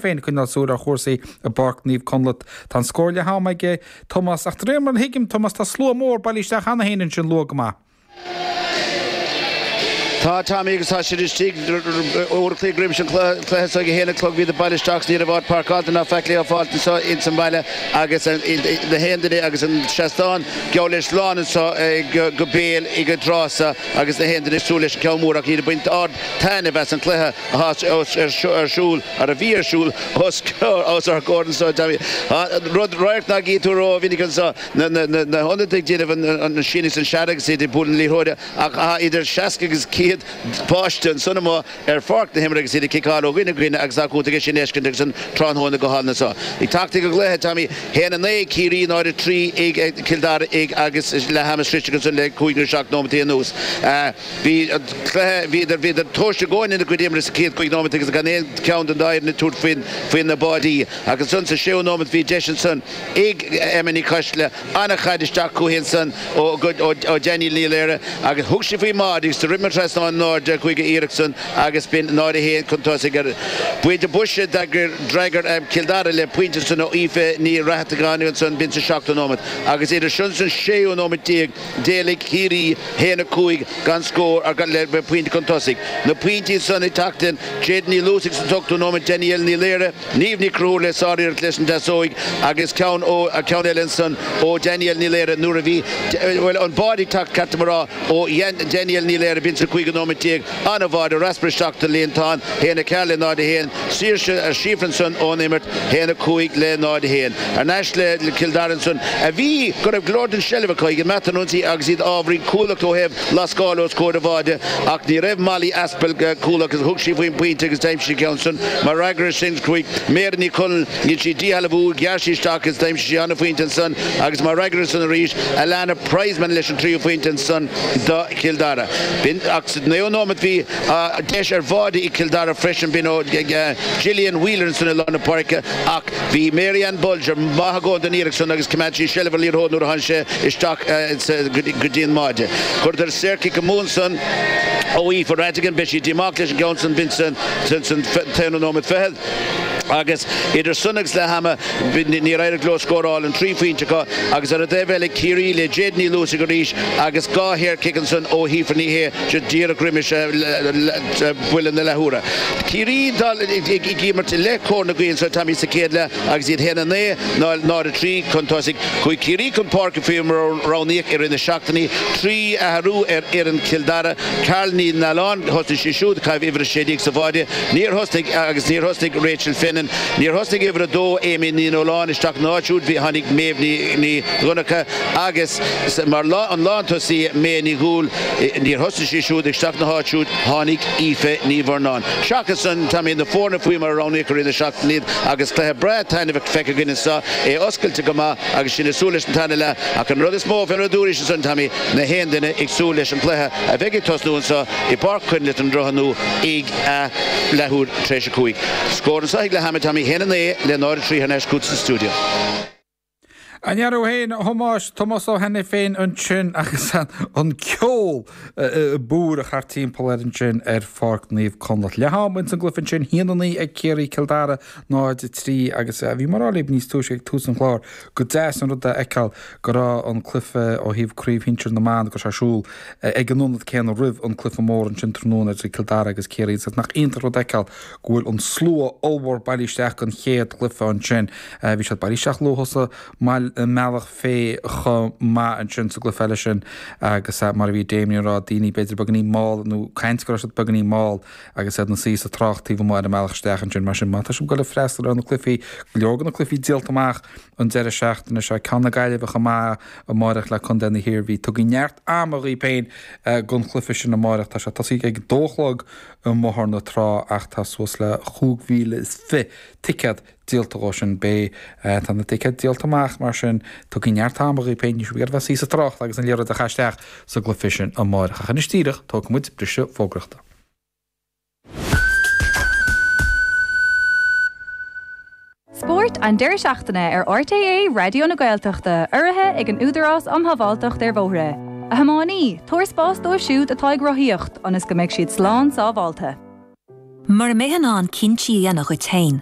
Féin ag coinneáil súil ar chúrsaí i bPáirc Naomh Conleth. Tá an scór leath ama aige Tomás ach de réir mar a thuigim, Tomás, tá slua mór bailithe isteach cheana féin ansin luath go maith. Tá, Tommy, agus tá siad istigh uair a chloig roimis an cluiche so ag a haon a chlog bhíodar bailithe isteach 's ní raibh áit páirceáilte ná faic le fáilt anso ins an bhaile agus na haon duine agus an seastán geall leis lán anso go béal ag an tráth so agus na haon duine ag súil leis an ceann mór ach iad ag baint ard taitneamh as an cluiche atá ar siúl, ar a bhí ar siúl os ár gcomhair anso. Rud, radharc nach gcí tú ró-mhinic anso, na hionadaithe ag déanamh an síneadh is an searradh agus iad ag bualadh na liathróide ach tá idir 60 agus 100 páiste ansan amuigh ar pháirc na himeartha agus iad ag ciceáil ó dhuine go dhuine agus tá cúnta aige sin a fheiscint agus an tráthnóna go hálainn anso. Ag teacht ag an gcluiche, Tommy, 1-9 ag Ciarraí, 0-3 ag Cill Dara agus leath ama sroichte ansan le cúig nó seacht nóimeataí anuas. Bhí an cluiche, bhíodar, bhíodar tomhaiste i gcónaí ina gcuid imeartha sa chéad chúig nóimeat agus gan aon cheann den dá fhoireann ag tabhairt faoin, faoi na báidí. Ach ansan sa séú nóimeat bhí deis ansan ag Emma Ní Choisdealbha, an-chaid isteach chuici ansan ó, ó, ó Danielle Ní Laoire agus thug sí faoin mbáide agus do rith trasnán in airde chuig an iarracht san agus b'in 0-1 chun tosaigh ar buailte boise d'fhreagair, d'fhreagair Cill Dara le pointe ansan ó Aoife Ní Rathtagáin ansan b'in sa seachtú nóimeat agus idir sin is an séú nóimeat déag D'éalaigh Ciarraí 1-5 gan scór ar le pointe chun tosaigh. Na pointí san ag teacht in Jade Ní Luasaigh sa t-ochtú nóiméad, Danielle Ní Laoire, Niamh Ní Chonchúir le sáriarracht leis an deasóig agus ceann ó ceann eile ansan ó Danielle Ní Laoire nuair a bhí bhuel an báide ag teacht ceart dom a rá ó Danielle Ní Laoire b'in sa cúigiú nóiméad déag. An-bháide raspar isteach sa líontán 1-4 le 0-1. Saoirse ar síofra ansan ón imirt, 1-5 le 0-1. Thar n-ais le Cill Dara ansan a bhí go raibh go leor den seilbh acu ag imeacht an ionsaí agus iad ábhairín cúthaileach ó thaobh lascáil os comhair an bháide ach ní raibh Molly Aspell cúthaileach agus thug sí faoin bpointe agus d'aimsigh sí ceann san. Mar fhreagra ar sin chuaigh Máire Ní Chonaill, dhein sí díshealbhú, ghearr sí isteach agus d'aimsigh sí an-phointe ansan agus mar fhreagra ar san arís Alana Prizeman leis an tríú phointe ansan do Chill Dara. B'in ach sa naoú nóimeat bhí deis ar bháide ag Cill Dara freisin, b'in ó Gillian Wheeler ansan i lár na páirce ach bhí Mary Ann Bolger maith i gcónaí don iarracht san agus choimeád sí seilbh ar liathróid nuair a tháinig sé isteach go dtí an mbáide. Chuireadar saorchic amú ansan ó Aoife Ratigan, beidh sí díomách leis an gceann san, b'in san t-aonú nóimeat fichead. Agus idir san agus leath ama níor éirigh leo scóráil an trí phointe acu agus ar an dtaobh eile Ciarraí le Jade Ní Luasaigh arís agus dhá shaorchic ansan ó Shíofra Ní Shé díreach roimis buille na leathuaire. Ciarraí ag imirt le cóir na gaoithe anso Tommy sa chéad leath agus iad 1-9 0-3 chun tosaigh. Chuaigh Ciarraí chun páirce faoi mar a roghnaíodh i rith na seachtainí. Trí athrú ar fhoireann Chill Dara. Carla Ní Nualláin, thosnaigh sí siúd ag caitheamh uimhir 16 sa bháide. Níor thosnaigh agus níor thosnaigh Rachel Finnan. Níor thosnaigh uimhir 2 Amy Ní Nualláin isteach ina áit siúd. Bhí tháinig Méabh Ní Dhonncha agus mar an lántosaí May Ní Dhúill. Níor thosnaigh sí siúd isteach ina háit siúd tháinig Aoife Ní Mhurnáin. Seachas san, Tommy, na foirne faoi mar a roghnaíodh i rith na seachtaine iad agus cluiche breá taitneamhach feicthe againn anseo, é oscailte go maith agus sinn ag súil leis an tarna leath. Ach an rud is mó fé mar a dúraís ansan, Tommy, na haon duine ag súil leis an gcluiche a bheidh ag tosnú anseo i bPáirc Choinnlit an Droichead Nua ag a leathuair tar éis a cúig. Scór anseo ag leath ama, Tommy, 1-9 le 0-3 thar n-ais chugat sa stiúideo. An ndea-raibh féin, a Thomáis, Tomás Ó hAiniféin ansin agus an ceol ag búireach thart timpeall air ansin ar Pháirc Naomh Conleth. Leath ama ins an gcluiche ansin, 1-9 ag Ciarraí, Cill Dara 0-3 agus bhí mé ag rá libh níos túisce ag tús an chláir gur deas an rud é a fheiceáil go raibh an cluiche ó thaobh Craobh Shinsir na mBan go raibh sé ar siúl ag an ionad céanna roimh an cluiche mór ansin tráthnóna idir Cill Dara agus Ciarraí agus nach iontach rud a fheiceáil go bhfuil an slua ollmhór bailithe isteach don chéad chluiche ansin. Bhí siad bailithe isteach luath sa mbealach féich chomh maith ansin sa gcluiche eile sin agus mar a bhí Damien ag rá, daoine b'fhéidir beagáinín mall nó caint go raibh siad beagáinín mall agus iad ina suí sa trácht taobh amuigh ar an mbealach isteach ansin. Mar sin, má tá sibh ag dul ag freastal ar na cluichí, go leor de na cluichí díolta amach an deireadh seachtaine seo, ceann na Gaillimhe chomh maith amáireach le Contae na hIarmhí. Tugaigí neart ama dhaoibh féin don chluiche sin amáireach. Tá sé tosaithe ag dó a chlog i mBóthar na Trá ach tá suas le 25,000 ticéad díolta dhó sin. Beidh, tá na ticéid díolta amach mar sin tugaigí neart ama dhaoibh féin, níl sibh ag iarraidh bheith ag suí sa trácht agus an liathróid á chaitheamh isteach sa gcluiche sin amáireach. Ach anois díreach, tógfaidh muid briseadh fógraíochta. Spórt an deireadh seachtaine ar RTÉ Raidió na Gaeltachta, urraithe ag an Údarás um Shábháilteacht ar Bhóithre. A thiománaí, tabhair spás dóibh siúd atá ag rothaíocht, ionas go mbeidh siad slán sábháilte. Mura mbeifeá in ann cinntí a dhéanamh dhuit féin.